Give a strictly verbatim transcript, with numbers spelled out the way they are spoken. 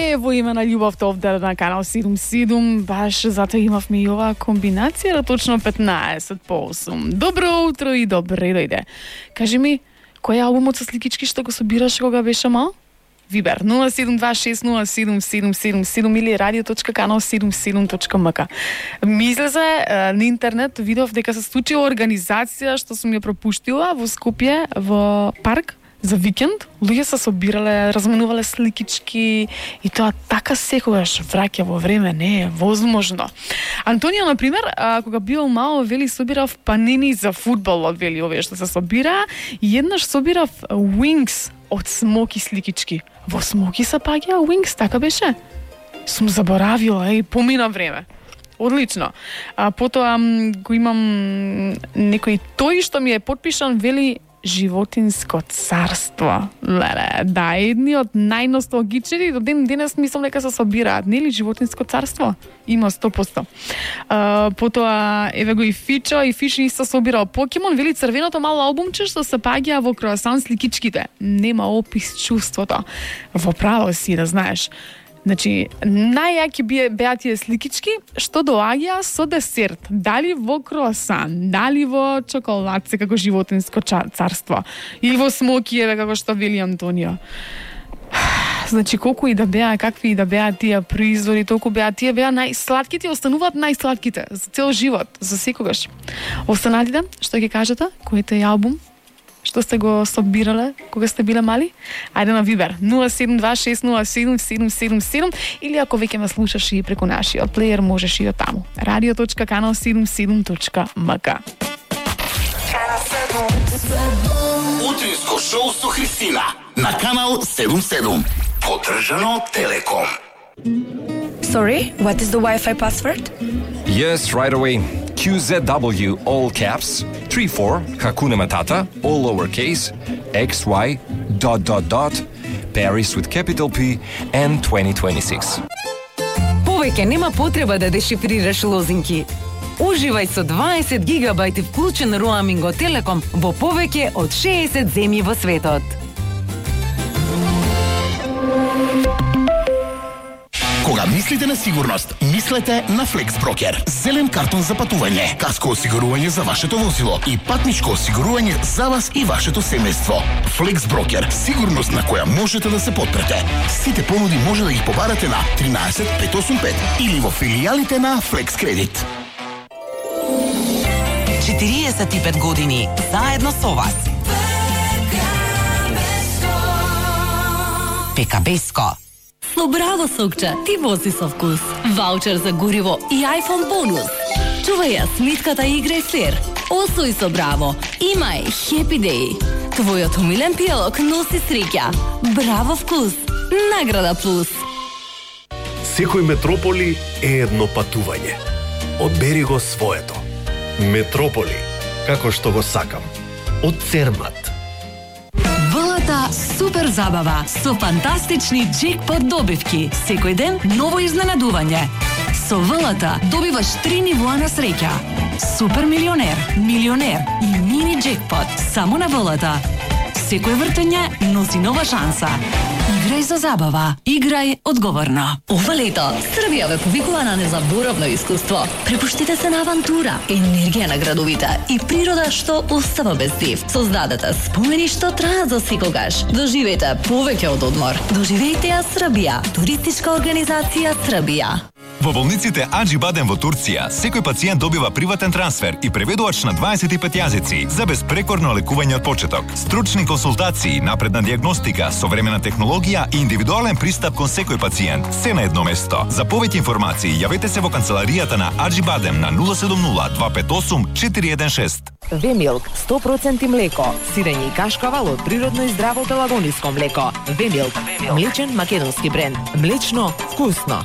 е во име на љубовта овде на канал седум седум, баш затоа имавме и оваа комбинација точно петнаесет по осум. Добро утро и добре дојде. Кажи ми, кој е албумот со сликички што го собираш кога беше мал? Вибер нула седум два шест нула седум седум седум седум или радио точка канал седум седум точка ем ка. Мисле се на интернет видов дека се случила организација што сум ја пропуштила во Скопје во парк за викенд. Луѓе се собирале, разменувале сликички и тоа така секогаш враќа во време, не е возможно. Антонија, например, а, кога бил мал, вели собирав панини за фудбалот, вели овие што се собира, и еднаш собирав Wings од Смоки сликички. Во Смоки се паѓа Wings, така беше? Сум заборавила и помина време. Одлично. А потоа го имам некој тој што ми е подпишан, вели Животинско царство. Леле, да, едни од најносталгични, до ден денес мислам дека се собираат, нели Животинско царство? Има сто проценти. Uh, потоа, еве го и Фичо, и Фичо исто собирал Покемон, вели црвеното мало албумче што се паѓа во круасан сликичките. Нема опис чувството. Во право си, да знаеш. Значи, најјаки беа тие сликички што доаѓа со десерт. Дали во круасан, дали во чоколадце како Животинско царство, или во смокиеве како што вели Антонио. Значи, колку и да беа, какви и да беа тие производи, толку беа тие беа најслатките, остануваат најслатките за цел живот, за секогаш. Останатите, што ќе кажете, кој е албум што сте го собирале кога сте биле мали? Ајде на Вибер нула седум два шест нула седум седум седум седум или ако веќе ме слушаш и преку нашиот плеер, можеш и од таму. радио точка канал седум седум точка ем ка. Утринско шоу со Христина на канал седум седум. Поддржано од Телеком. Sorry, what is the Wi-Fi password? Yes, right away. Q Z W, all caps, three four, Hakuna Matata, all lowercase, X Y, dot dot dot, Paris with capital P, and twenty twenty-six. Повеќе нема потреба да дешифрираш лозинки. Уживај со дваесет гигабајти вклучен роаминг од Телеком во повеќе од шеесет земји во светот. Кога мислите на сигурност, мислете на FlexBroker. Зелен картон за патување, каско осигурување за вашето возило и патничко осигурување за вас и вашето семејство. FlexBroker, сигурност на која можете да се потпрете. Сите понуди може да ги побарате на тринаесет пет осум пет или во филијалите на Flex Credit. четириесет и пет години заедно со вас. Пекабеско. Со Браво Сокче ти вози со вкус. Ваучер за гориво и iPhone бонус. Чувај ја сметката и играј флер. Освој со Браво. Имај Happy Day. Твојот умилен пијалок носи среќа. Браво вкус. Награда плюс. Секој метрополи е едно патување. Одбери го своето. Метрополи, како што го сакам. Од Цермат. Вълата супер забава со фантастични джекпот добивки. Секој ден ново изненадување. Со Вълата добиваш три нивоа на среќа. Супер милионер, милионер и мини джекпот само на Вълата. Секој вртење носи нова шанса. Играј за забава. Играј одговорно. Ова лето Србија ве повикува на незаборавно искуство. Препуштите се на авантура, енергија на градовите и природа што остава без див. Создадете спомени што траат за секогаш. Доживејте повеќе од одмор. Доживејте ја Србија. Туристичка организација Србија. Во болниците Аџи Бадем во Турција, секој пациент добива приватен трансфер и преведувач на дваесет и пет јазици за безпрекорно лекување од почеток. Стручни консултации, напредна дијагностика, современа технологија и индивидуален пристап кон секој пациент. Се на едно место. За повеќе информации јавете се во канцеларијата на Аџи Бадем на нула седум нула два пет осум четири еден шест. Вемилк сто проценти млеко, сирење и кашкавал од природно и здраво пелагониско млеко. Вемилк, млечен македонски бренд. Млечно, вкусно.